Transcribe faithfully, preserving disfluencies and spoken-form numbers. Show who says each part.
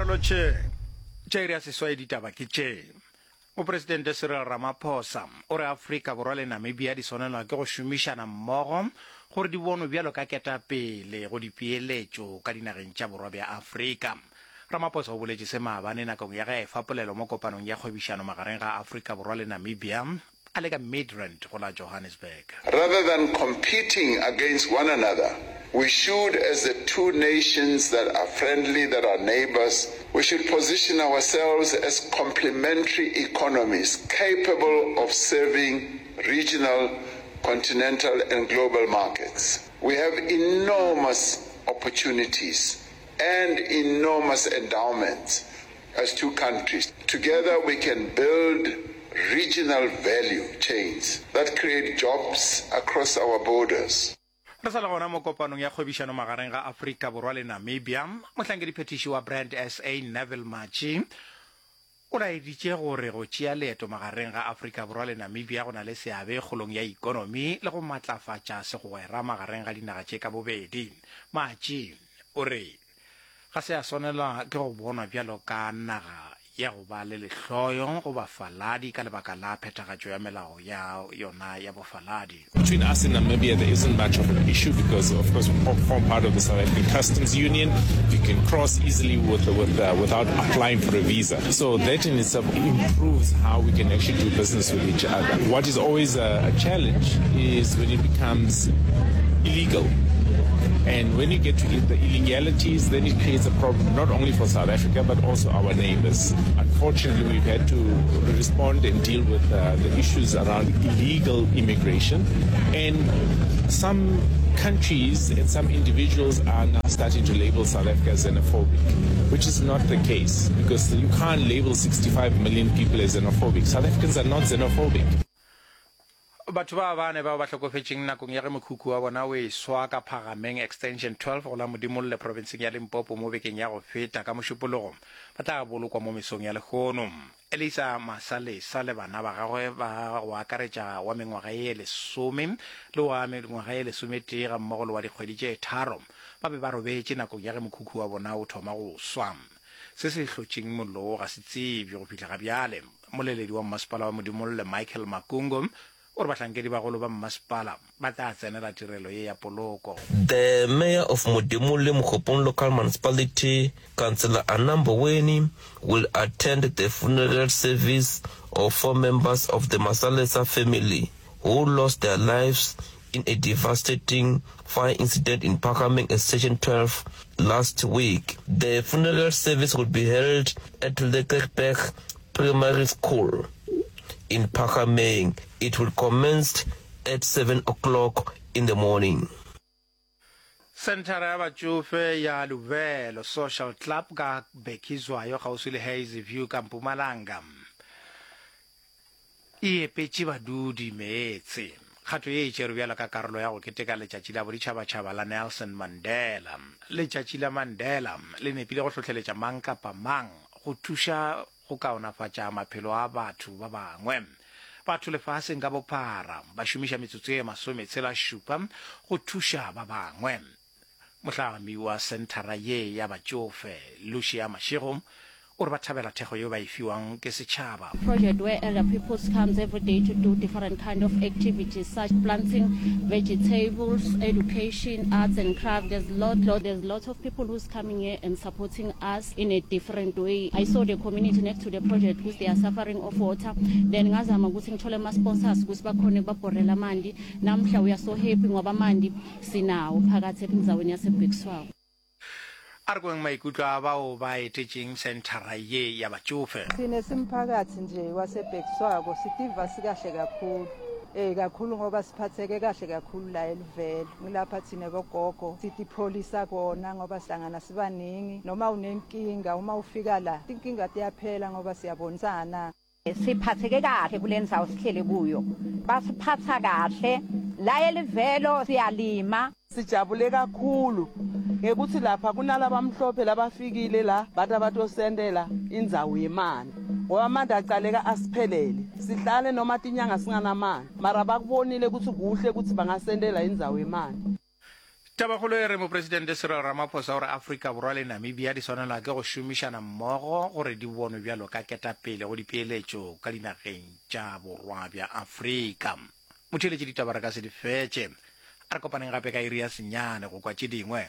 Speaker 1: Re lotšheng. Tša iri ya seswai ditaba ke tše. Mopresidente Cyril Ramaphosa o re Afrika Borwa le Namibia di swanelwa ke go šomišana mmogo gore di bonwe bjalo ka ketapele go dipeeletšo ka dinageng tša borwa bja Afrika. Ramaphosa o boletše se maabane nakong ya ge a efa polelo mo kopanong ya kgwebišano magareng ga Afrika Borwa le Namibia a le ka Midrand go la Johannesburg.
Speaker 2: Rather than competing against one another, we should, as the two nations that are friendly, that are neighbors, we should position ourselves as complementary economies capable of serving regional, continental and global markets. We have enormous opportunities and enormous endowments as two countries. Together we can build regional value chains that create jobs across our borders.
Speaker 1: Re sa le gona mo kopanong ya kgwebišano magareng ga Afrika Borwa le Namibia, mohlankediphethiši wa Brand SA Neville Matji o laeditše gore go tšea leeto magareng ga Afrika Borwa le Namibia go na le seabe kgolong ya ikonomi le go matlafatša segwera magareng ga dinaga tše ka bobedi. Matji o re ga se a swanelwa ke go bonwa bjalo ka naga ya go ba le lehloyo go bafaladi ka lebaka la phethagatšo ya melao ya yona ya bofaladi.
Speaker 3: Between us and Namibia, there isn't much of an issue because, of course, we form part of the South African Customs Union. You can cross easily with, with, uh, without applying for a visa. So that in itself improves how we can actually do business with each other. What is always a, a challenge is when it becomes illegal. And when you get to the illegalities, then it creates a problem not only for South Africa, but also our neighbors. Unfortunately, we've had to respond and deal with uh, the issues around illegal immigration. And some countries and some individuals are now starting to label South Africa as xenophobic, which is not the case, because you can't label sixty-five million people as xenophobic. South Africans are not xenophobic.
Speaker 1: Batho ba bane bao ba hlokofetšeng nakong ya ge mokhukhu wa bona o eswa ka Phagameng Extension twelve go la Modimolle profenseng ya Limpopo mo bekeng ya go feta ka Mošupologo ba tla bolokwa mo mesong ya lehono. Elisa Masalesa le bana ba gagwe ba go akaretša wa mengwaga ye lesome le wa mengwaga ye lesometee ga mmogo le wa dikgwedi tše tharo ba be ba robetše nakong ya ge mokhukhu wa bona o thoma go swa. Se se hlotšeng mollo wo ga se tsebje go fihla ga bjale. Moleledi wa mmasepala wa Modimolle Michael Makungo o re bahlankedi bagolo ba mmasepala ba tla tsenela tirelo ye ya poloko.
Speaker 4: The mayor of Modimolle Mookgophong Local Municipality, Councillor Anna Mboweni, will attend the funeral service of four members of the Masalesa family who lost their lives in a devastating fire incident in Phakameng Extension twelve last week. The funeral service will be held at Lekkerberg Primary School in Phakameng. It will commence at seven o'clock in the morning.
Speaker 1: Senthara ya batšofe ya Luvelo Social Club ka Bhekizwayo kgauswi le Hazyview ka Mpumalanga e epetše badudi meetse. Kgato ye e tšerwe bjalo ka karolo ya go keteka letšatši la boditšhabatšhaba la Nelson Mandela. Letšatši la Mandela le nepile go hlohleletša mang kapa mang go thuša go kaonafatša maphelo a batho ba bangwe. Batho lefaseng ka bophara ba šomiša metsotso ye masometshela šupa go thuša ba bangwe. Mohlami wa senthara ye ya batšofe Lucia Mashego o re ba thabela thekgo yeo ba e fiwang ke setšhaba.
Speaker 5: Project where elder people comes every day to do different kind of activities such planting vegetables, education, arts and craft. There's lot, lot, there's lots of people who's coming here and supporting us in a different way. I saw the community next to the project because they are suffering of water. Then ngazama ukuthi ngithole ama sponsors ukuthi bakhone ukubabhorela amanti. Namhla we are so happy ngoba amanti sinawo phakathi endzaweni yaseBhekiswako.
Speaker 1: A re kweng maikutlo a bao ba etetšeng senthara ye ya batšofe.
Speaker 6: Thina simphakathi nje waseBhekiswako sitiva sikahle kakhulu. Eh kakhulu ngoba siphatheke kahle kakhulu la eLuvelo. Ngilapha thina bogogo sitipholisa kona ngoba sihlangana sibaningi noma unenkinga uma ufika la inkinga tiyaphela ngoba siyabonisana.
Speaker 7: Siphatheke kahle kule ndzawo sihlele kuyo. Basiphatha kahle la eLuvelo siyalima.
Speaker 8: Sijabule kakhulu ngekuthi lapha kunalabamhlophe labafikile la bathi abatosendela indzawo yemali ngoba amanti acaleka asiphelele sihlale noma tinyanga singanamali mara bakubonile ukuthi kuhle ukuthi bangasendela indzawo yemali.
Speaker 1: Tabakgolo e re Mopresidente Cyril Ramaphosa o re Afrika Borwa le Namibia di swanelwa ke go šomišana mmogo gore di bonwe bjalo ka ketapele go dipeeletšo ka dinageng tša Borwa bja Afrika. Motheeletši ditaba re ka se di fetše. A re kopaneng gape ka iri ya senyane go kwa tše dingwe.